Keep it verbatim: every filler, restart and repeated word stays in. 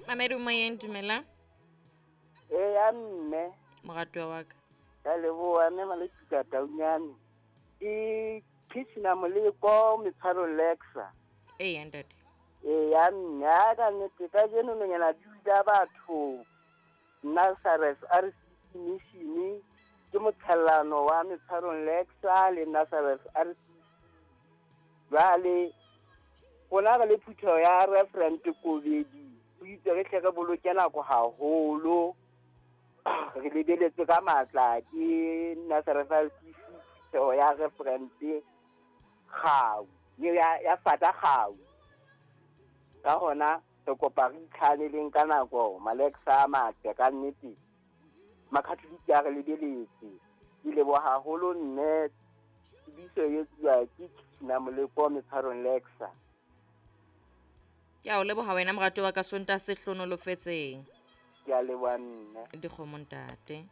Mamedi moyeng, dumela. Eya mme. Moratuwa wa ka. Ka leboha mme Maletuka Taunyane. Ke Kitchener Moleko Metshwaro Lexa. Eya ntate. Eya mme, a ka nnete kajeno nonyana di utlwa batho Nazareth R C C Mission ke motshellano wa Metshwarong Lexa le Nazareth R C C. Jwale rona re le phutheho ya Reverend Kobedi, ho itse re hle re boloke nako haholo, re lebeletse ka matla ke Nazareth R C C phutheho ya Reverend Kgau, ya, ya Fata Kgau. Ka hona re kopa re itlhaneleng ka nako, Malexa a matle ka nnete. Makatholike a re lebeletse. Ke leboha haholo mme, tsebiso e etsuwa ke Kitchener Moleko Metshwarong Lexa. Ke a o leboha wena moratuwa wa ka, Sontaha se hlohonolofetseng. Ke a leboha mme. Dikgomo ntate.